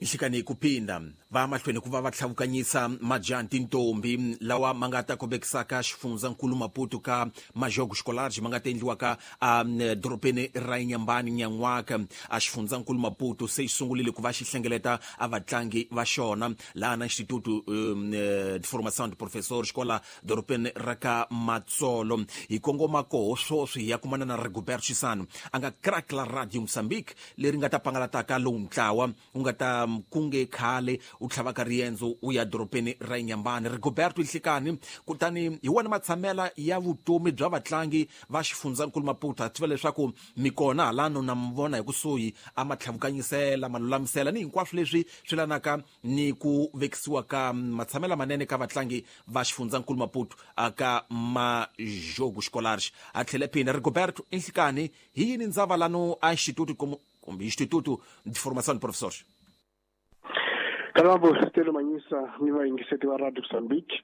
Nhlikani ku phinda va mahlweni ku va va tlhavukanyisa majaha tintombi lawa ma nga ta kombekisaka xifundzankulu Maputo ka majogo xikolaji ma nga ta endliwaka a dorobeni ra Inhambane nyan'waka. A xifundzankulu Maputo se xi sungurile ku va xi hlengeleta a vatlangi va xona laha na Instituto de Formação de Professores kwala dorobeni ra ka Matsolo. Hi kongoma koho swoswi hi ya kumana na Rigoberto Chisano a nga crack la Radio Mozambique leri nga ta pangalataka lowu ntlawa u nga ta kunge khale u tlhavaka riendzo u ya dorobeni ra Inhambane. Rigoberto Nhlikani, kutani hi wona matshamela ya vutomi bya vatlangi va xifundzankulu Maputo. Ha tiva leswaku mi kona halano na mi vona hi kusuhi a ma tlhavukanyisela ma lulamisela ni hinkwaswo leswi swi lanaka ni ku vekisiwa ka matshamela manene ka vatlangi va xifundzankulu Maputo aka majogo xikolari. A tlhele phinda Rigoberto Nhlikani, hi yini ndzava lano a Instituto kumbe Instituto de Formação de Professores? Kalabo Stelo Manyisa ni vayingiseti va Radio Mozambique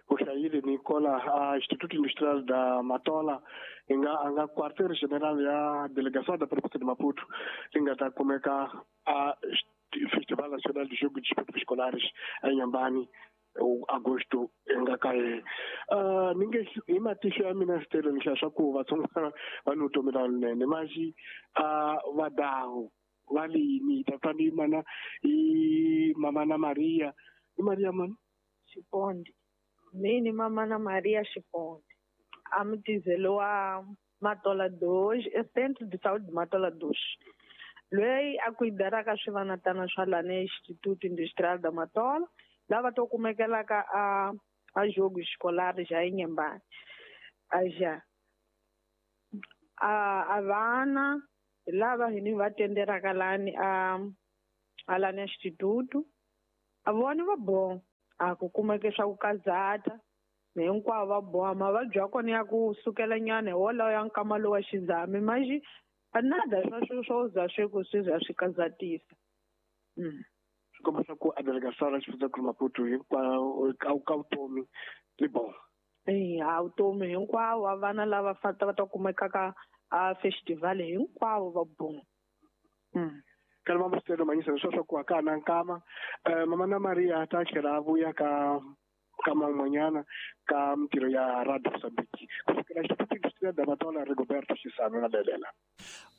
u hlayile ni kola a Instituto Industrial da Matola hi nga a nga quartier general ya Delegação da Província de Maputo li nga ta kumeka a Festival Nacional de Jogo de Desportos Escolares a Inhambane agosto hi nga ka yena. Ni nge hi matihlo ya mina Stelo ni hlaya swa ku vatsongwana va ni vutomi lalinene maxi a vadawu va lini ta twa ni mana i mama na Maria i Maria mani Xiponde mini mama na Maria Xiponde a mutizelo wa Matola 2 e Centro de Saúde de Matola 2 loyi a kuidaraka swivanatana swa lana Instituto Industrial da Matola lava to kumekelaka a jogo escolar já Inhambane aja a vana lava hini va tenderaka lani a lani instituto a vona va bo a ku kumeke swa ku kazata hinkwavo va boha mavabyi ya kona ya ku sukela nyana hi wolawo ya nkama lowa xizami maxi a nada swa swo za swi ku swi za swi kazatisa. Swi komba swa ku a delegação ra xifundzankulu Maputo hinkwawo ka vutomi li bo a vutomi hinkwavo a vana lava fata va ta kumekaka a festival hinkwavo va bo. Kana mama Stelo Manyisa leswi swa ku a ka na nkama mama na Maria ta tlhela a vuya ka ka man'wanyana ka mintirho ya Radio Mozambique kusukela Instituto Industrial da Matola Rigoberto Chisano na Belela.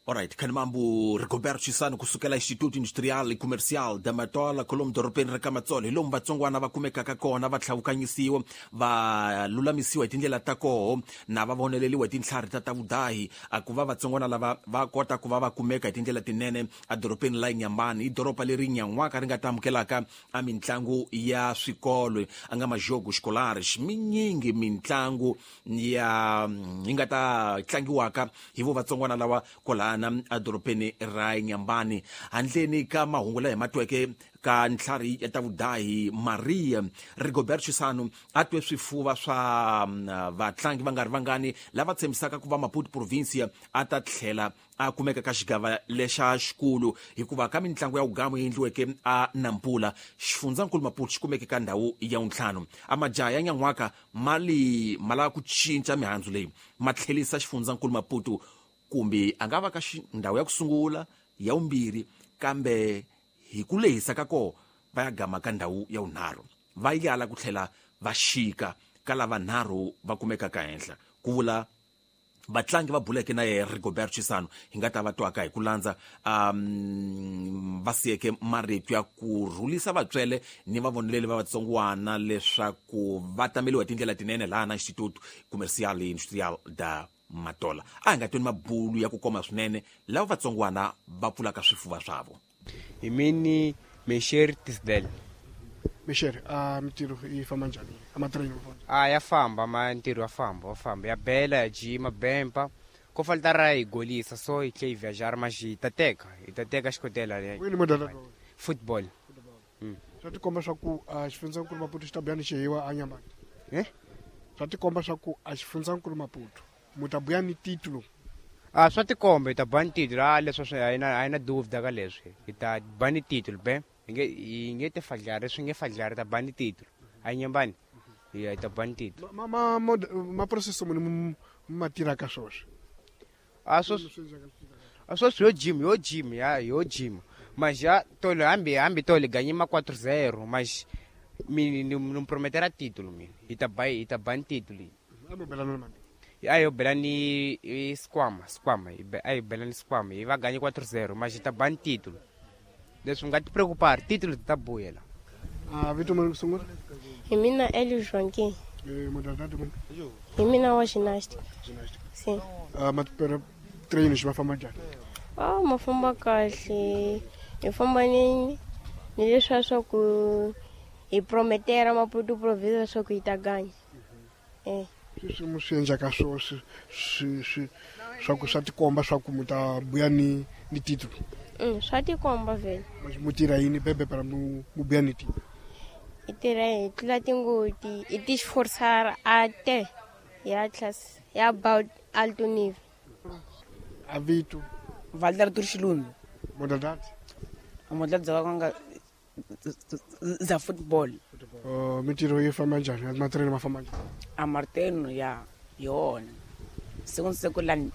Alright, khanimambu Rigoberto Chisano kusukela Instituto Industrial e Comercial da Matola kolomu dorobeni ra ka Matsolo hi lomu vatsongwana va kumekaka kona va tlhavukanyisiwa va lulamisiwa hi tindlela ta koho na va voneleliwa hi tintlhari ta ta vudahi a ku va vatsongwana lava va kota ku va va kumeka hi tindlela tinene a dorobeni la Inhambane. I doroba leri nyan'waka ri nga ta amukelaka a mintlangu ya swikolo a nga majogo scolares minyingi mintlangu ya yi nga ta tlangiwaka hi vo vatsongwana lava kwalana edorobeni ra Inhambane. Handleni ka mahungu laha hi ma tweke ka ntlhari ya ta vudahi Maria Rigoberto Chisano a twe swifuva swa vatlangi va nga ri vangani lava tshembisaka ku va Maputo Provincia a ta tlhela a kumeka ka xigava lexa xikulu hikuva ka mintlangu ya wugamu yi endliweke a Nampula xifundzankulu Maputo xi kumeke ka ndhawu ya wuntlhanu. A majaha ya nyan'waka mali ma lava ku cinca mihandzu leyi ma tlhelisa xifundzankulu Maputo kumbe a nga va ka ndhawu ya ku sungula ya vumbirhi kambe hi ku lehisa ka koho va ya gama ka ndhawu ya vunharhu va yala ku tlhela va xika ka lava nharhu va kumekaka henhla ku vula vatlangi va buleke na yena Rigoberto Chisano hi nga ta va twaka hi ku landza va siyeke marito ya ku rhulisa vatswele ni vavoneleli va vatsongwana leswaku va tameliwa hi tindlela tinene laha na Instituto Comercial e Industrial da Matola. A hi nga tweni mabulu ya ku koma swinene lava vatsongwana va pfulaka swifuva swavo. Hi mini Mesher Tisdale. Mesher, a mintirho yi famba njhani? A matraining A ya famba, ma ntirho ya famba, wa famba. Ya bela, ya jima, bempa. Ko falta ra hi golisa so hi tlhe hi viajar maxi hi ta teka, hi ta teka xikotela leyi. Wini modala lowu? Football. Swa tikomba swa ku a xifundzankulu Maputo xi ta buya ni xihiwa a Nyambani. Eh? Swa tikomba swa ku a xifundzankulu Maputo mu ta buya ni titulo. A swa tikomba hi ta ba ni titulo, a leswi swi a hi na duvda ka leswi. Hi ta ba ni titulo be. Hi nge te fadlari, swi nge fadlari ta ba ni titulo. A Nyambani. Hi ta ba ni titulo. Ma process muni ma tirha ka swoswi? A swoswi yo gym, yo gym, ya yo gym. Mas já tolo hambi tolo ganhei 4-0, mas me não prometerá título, me. Ita ban título. Aí eu belani squama, aí belani squama, e vai ganhar 4-0, mas ita ban título. Deixa um gato preocupar, título tá boa ela. Ah, Vitor Mano Sungura? E mina Hélio Joaquim. E modalidade mano? E mina wa ginástica. Ginástica. Sim. Ah, mas para treinos vai famba njhani? Ah, ma famba kahle. Hi famba ni leswiya swa ku hi prometera Maputo province swa ku hi ta ganya. Sweswi mi swi endlaka swo swi swa ku swa tikomba swa ku mi ta buya ni titulo? Swa tikomba vhele. Mu tirha yini bebe para mu buya ni titulo? Hi tirha hi tlula tingoti, hi ti esforçar até ya classe ya about alto nível. Avito Valder Turshilundu. Modalidade? A modalidade za football. Mintirho yi famba njhani? Matirhelo ma famba njhani? A marteno ya yona. Siku ni siku lani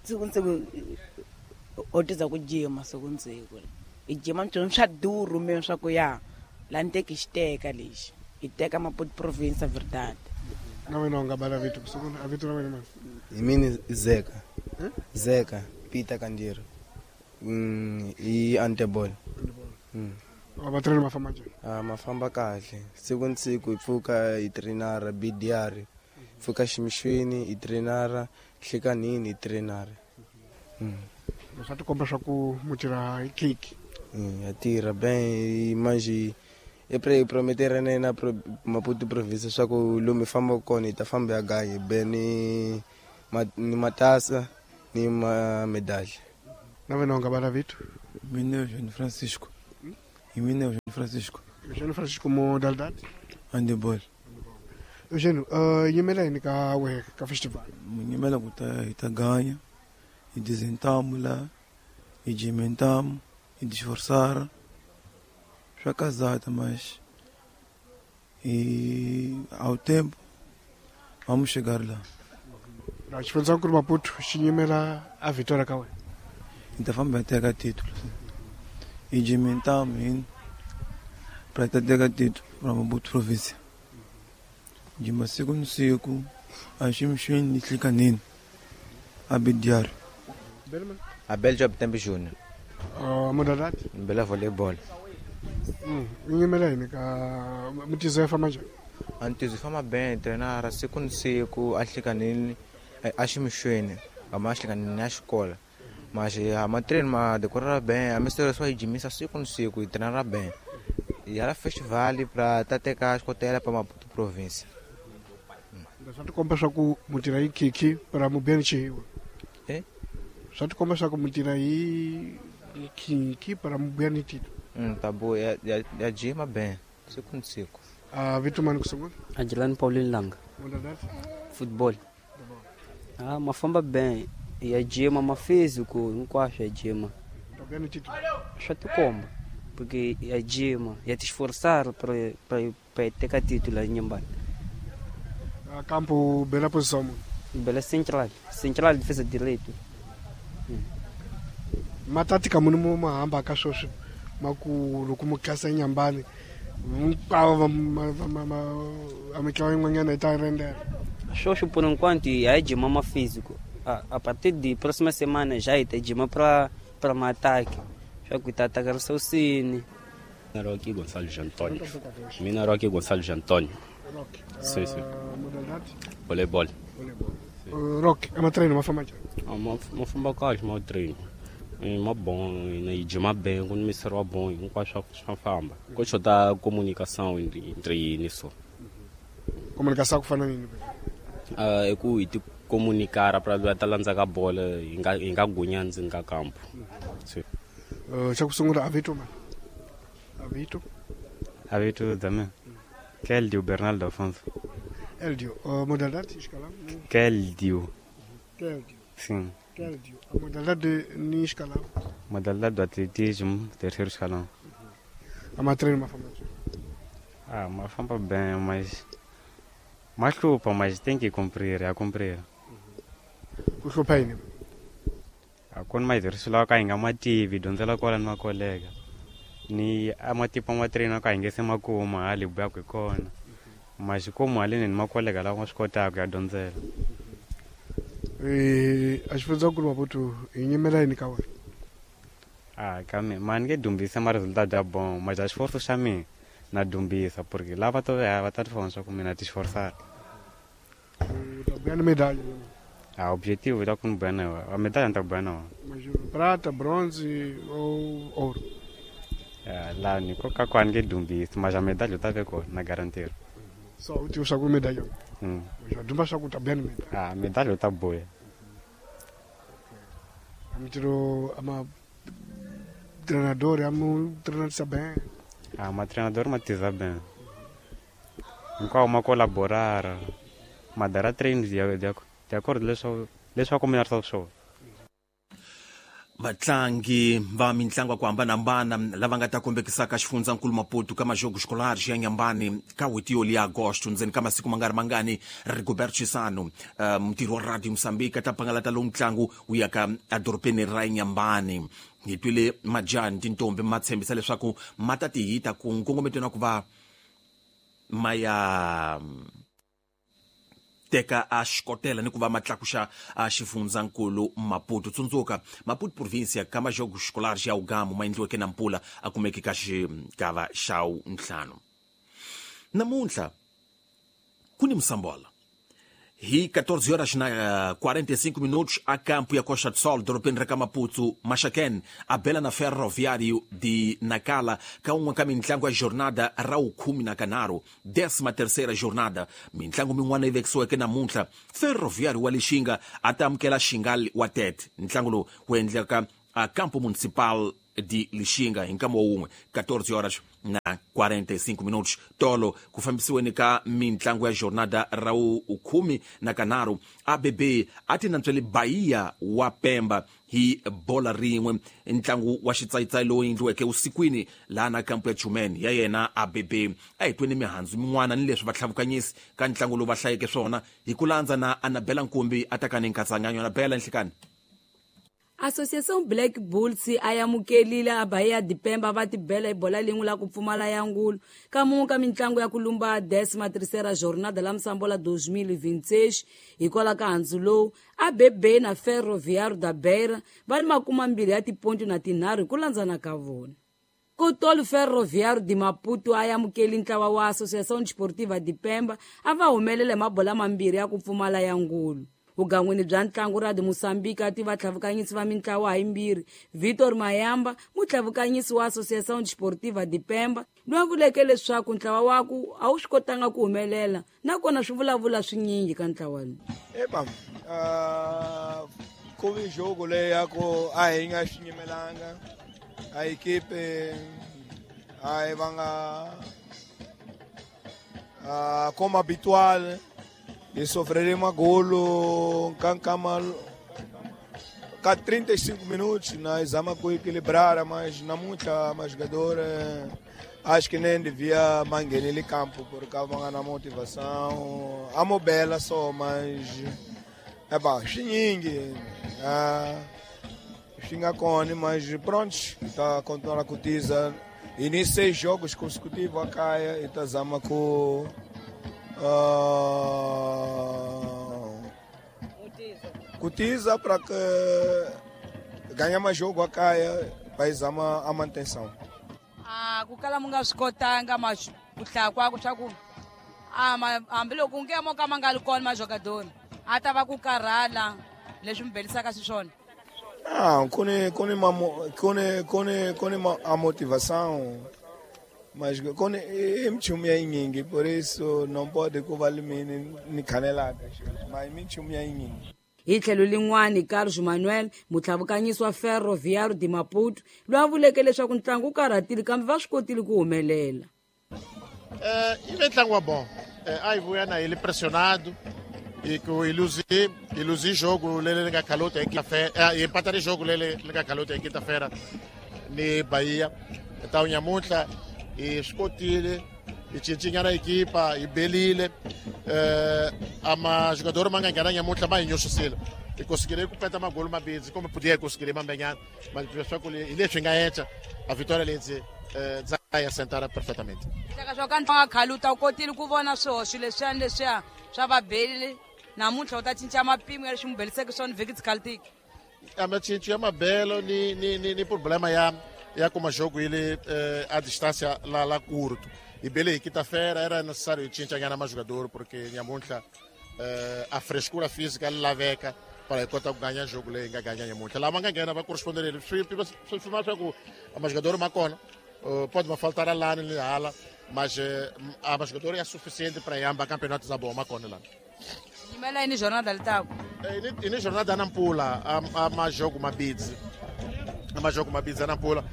siku ni siku o tiza ku jima siku ni siku. I jima ntsona swa duru me swa ku ya lani teki xiteka lexi. I teka Maputo province verdade. Na wena u nga bala vito siku a vito ra wena mani? Hi mina Zeka. Zeka Peter Kandiro. I handball. Vatirheli ma famba njhani? Ma famba kahle. Siku ni siku hi pfuka hi trainara BDR. Pfuka ximixweni hi trainara, nhlikanini hi trainara. Swa tikomba swa ku mu tirha hi kiki. Ya tirha ben manje i prometera na Maputo province swa ku lomu hi fambaka kona hi ta famba ya ganya be ni matasa ni medalha. Na wena u nga bala vito? Mina Eugênio Francisco. Mina Eugênio Francisco. Eugênio Francisco modalidade? Handebol. Eugênio, nyimela yini ka wehe ka festival? Nyimela ku ta hi ta ganya, hi dizentamos lá, hi jimentamos, hi disforçar. Swa casada, mas e ao tempo vamos chegar lá. Na xifundza ku ri Maputo xi nyimela a vitória ka wena? Hi ta famba hi teka título. Hi jimentamos yini para ta teka título para Maputo província. Jima siku ni siku a ximixweni ni nhlikanini a BDR. Abel Job Tembe Júnior. Modalidade? Bela voleibol. Nyimela yini ka mutizo ya famba njhani? Antizo famba bem, treinar siku ni siku a nhlikanini a ximixweni a nhlikanini a xikola. Mas a treino ma decorar bem, a mistura só jimisa siku ni siku e treinar bem. E era festival para teka escotela para Maputo província. Swa tikomba swa ku mu tirha hi kiki para mu buya ni xihiwa? Swa tikomba swa ku mu tirha hi kiki para mu buya ni tito? Tá boa, ya jima bem, siku ni siku. Vito mani ku sungula? Adilani Paulino Langa. Modalidade? Futebol. Ma famba bem, ya jima ma físico, hinkwaswo ya jima. Tá buya ni tito? Swa tikomba, porque ya jima, ya te esforçar para teka título nyumbani. Campo bela posição mano? Bela central, central defesa direito. Matatika muni mo mahamba ka sweswi ma ku loko mu tlasa nyambani hinkwavo a mitlawa yin'wanyana yi ta rendela. Sweswi por enquanto ya jima ma físico. A partir de próxima semana já ita jima para ma ataque. Swa ku ta atacar o cine. Roque Gonçalves Antônio. Mina Roque Gonçalves Antônio. Roque. Sim, sim. Modalidade? Voleibol. Voleibol. Roque, é uma treino, uma fama njhani? Ma famba kahle ma treino. Ma bom, e jima bem, quando me será bom, hinkwaswo swa famba. Ko xota comunicação entre nisso. Comunicação ku fana nini? I ku hi ti comunicar para va ta landza ka bola hi nga gunya ndzeni ka kampo. Sim. Xa ku sungula avito mani? Avito? Avito também. Keldio Bernardo Afonso. Eldio, modalidade escalão? Keldio. Keldio. Sim. Keldio. A modalidade ni escalão? Modalidade do atletismo, terceiro escalão. A ma treino ma famba? Ma famba bem, mas machupa, mas tem que cumprir, a cumprir. Ku hlupha yini? Ku ni matirhiselo lawa ka hi nga ma tivi dyondzela kwala ni makolega ni a matipo ma train ka hi nge se ma kuma hali hi buyaka hi kona maxikomu haleni ni makolega lawa ma swi kotaka ku ya dyondzela. A xifundzankulu Maputo hi nyimela yini ka wena? A ka mina ma ni nge dumbisa ma resultat ya bon ma ja xiforso xa mina na dumbisa porque lava to va ta tifona swa ku mina ti xiforsara. U ta buya ni medalha? A objetivo ta ku ni buya na yona a medalha ni ta buya na yona. Prata, bronze ou ouro? Laha ni koka ku a ni nge dumbisi ma ja medalha u ta ve kona na garantira. So u tiva swa ku medalha? Wa dumba swa ku u ta buya ni medalha? A medalha u ta buya. A mitiro ama treinador amu treinador bem? A ma treinador ma tiza bem. Hinkwawo ma collaborara ma dara train de acordo leswaku mina ri swona. Vatlangi va mitlangu ya ku hambanahambana lava nga ta kombekisaka xifundzankulu Maputo ka majogo escolar ya Nyambani ka n'hweti yo liya Agosto ndzeni ka masiku ma nga ri mangani, Rigobert Chisano, mutirhi wa Radio Mozambique, a ta pangalata lowu ntlangu wu yaka edorobeni ra Nyambani. Hi twile majani tintombi ma tshembisa leswaku ma ta ti hita ku nkongometweni wa ku va ma ya teka a xikotela ni ku va ma tlakuxa a xifundzankulu Maputo. Tsundzuka Maputo provincia ka majogo escolar ya Ugamu ma endliweke na mpula a kumeke ka xigava xa ntlhanu. Namuntlha ku ni Moçambola hi 14 horas na 45 minutos a campo ya Costa do Sol, dorobeni ra ka Maputo, Maxaquene a bela na Ferroviário de Nacala ka un'we ka mintlangu ya jornada ra vukhume na kanharhu, 13ª jornada. Mintlangu min'wana yi vekisiweke namuntlha, Ferroviário wa Lixinga a ta amukela Xingal wa Tete. Ntlangu lowu wu endleka a Campo Municipal de Lixinga hi nkama wun'we 14 horas na 45 minutos. Tolo ku fambisiweni ka mintlangu ya jornada ra vukhume na kanharhu, ABB a ti nantswele Bahia wa Pemba hi bola rin'we. Ntlangu wa xitsayitsayi lowu endliweke usikwini laha na kampu ya Chumen ya yena ABB. A hi tweni mihandzu min'wana ni leswi vatlhavukanyisi ka ntlangu lowu va hlayeke swona hi ku landza na Anabela Nkumbi a ta ka ni nkatsanganyo. Anabela, nhlikani. Associação Black Bulls a yamukelile a Bahia de Pemba va tibela hi bola lin'we la ku pfumala ya ngulu ka mun'we ka mitlangu ya ku lumba 13ª jornada la Moçambola 2026. Hikwalaho ka handzu lowu, ABB na Ferroviário da Beira va ni makuma mbirhi ya tiponti na tinharhu hi ku landzana ka vona. Kutolo Ferroviário de Maputo a yamukeli ntlawa wa Associação Desportiva de Pemba a va humelela hi mabola mambirhi ya ku pfumala ya ngulu. Vugangwini bya ntlangu Radio Mozambique a tiva tlhavukanyisi va mintlawa hayimbirhi, Vitor Mayamba, mutlhavukanyisi wa Associação Desportiva de Pemba, loyi a vuleke leswaku ntlawa waku a wu swi kotanga ku humelela nakona swi vulavula swinyingi ka ntlawa lowu. Epa, ku vi jogo leyi ya ku a hi nga swi nyimelanga a equipe a hi va nga como habitual e sofreremos golo ka 35 minutos nós vamos equilibrar, mas na muita mas jogador acho que nem devia manguelir campo porque vão na motivação a mobela só, mas é bom xiningue xinga cone, mas pronto está continuando a cotiza e nem 6 jogos consecutivos a caia e tá zama com cotiza para que ganhe mais jogo a caia vai a manutenção. Kukala munga swi kotanga mas ku hlaya kwaku swa ku hambiloko nge mo ka ma nga ri kona majogadori a ta va ku karhala leswi mi belisaka xiswona. Kuni a motivação, mas kuni i minchumu ya yinyingi, por isso não pode ku va mini ni khanelaka, mas i minchumu ya yinyingi. Hi tlhelo lin'wani, Carlos Manuel, mutlhavukanyisi wa Ferroviário de Maputo, loyi a vuleke leswaku ntlangu wu karhatile kambe va swi kotile ku humelela. I ve ntlangu wa bom. A hi vuya na hi le pressionado e ku iluzi jogo lele li nga khalota hi quinta-feira, hi empatare jogo lele li nga khalota hi quinta-feira ni Bahia. Então nyamuntlha hi swi kotile hi cincinyana ekipa hi belile ama jogador ma nga nghena nyamuntlha ma hi nyuxisile. E conseguirei completar uma gol uma vez, como podia conseguir uma manhã, mas só que ele chega a vitória ele vai assentar perfeitamente. Saka swa ka ntanga khaluta u kotile ku vona swihoxo leswiya ni leswiya swa vabeli namuntlha u ta cinca mapimo ya leswi n'wi beliseke swona vhiki tsikalitiki. A macinco ya mabelo ni problema ya kuma jogo ele a distância lá curto. E bele quinta-feira era necessário cinca nyana mais jogador porque nyamuntlha a frescura física laveka para kota ku ganhar jogo leyi nga ganha nyamuntlha. Lama nga nghena va corresponderile swi swi swa ku a jogador ma kona pode me faltar a lá ni hala, mas a jogador é suficiente para yamba campeonato za bom ma kona lá. Yimela ini jornada litako. Ini jornada Nampula, a ma jogo mabidzi. A ma jogo mabidzi Nampula.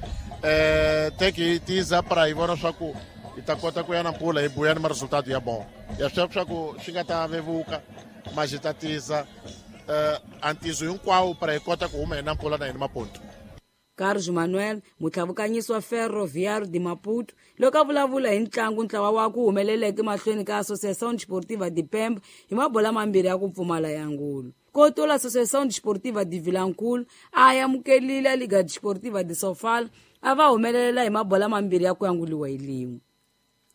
Tem que tiza para ivona swa ku itakota ku ya Nampula e buya ni resultado ya bom. Ya swa ku swi nga ta vevuka mas ita tiza antizo hinkwawo para ikota ku huma hi Nampula na yini maponto. Carlos Manuel mutlhavukanyisi wa Ferroviário de Maputo loko a vulavula hi ntlangu ntlawa wa ku humeleleke mahlweni ka Associação Desportiva de Pemba hi mabola mambirhi ya ku pfumala ya ngulu. Kotola Associação Desportiva de Vilankulu a amukelile Liga Desportiva de Sofala a va humelelela hi mabola mambirhi ya ku yanguliwa hi lin'we.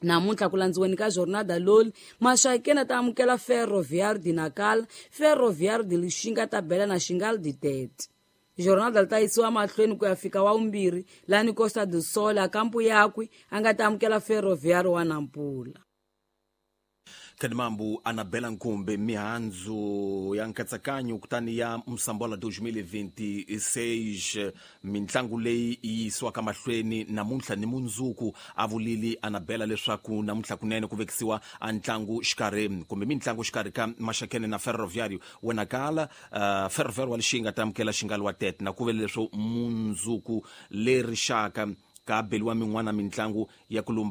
Namuntlha ku landziweni ka jornada loli Maxakeni ta amukela Ferroviário de Nacala, Ferroviário de Lixinga ta bela na Xingal de Tete. Jornada li ta yisiwa mahlweni ku ya fika wa vumbirhi lani Costa do Sol a kampu yakwe a nga ta amukela Ferroviário wa Nampula. Kadimambu Anabela Nkumbe mihandzu ya nkatsakanyo kutani ya Msambola 2026 mintlangu leyi yisiwaka mahlweni namuntlha ni mundzuku a vulili Anabela leswaku namuntlha kunene ku vekisiwa a ntlangu xikarhi kumbe mintlangu xikarhi ka Maxakene na Ferroviário Wenakala Ferroviário wa Lixinga ta amukela Xingal wa Tete na ku vele leswo mundzuku leri xaka ka beliwa min'wana mintlangu ya ku lumba.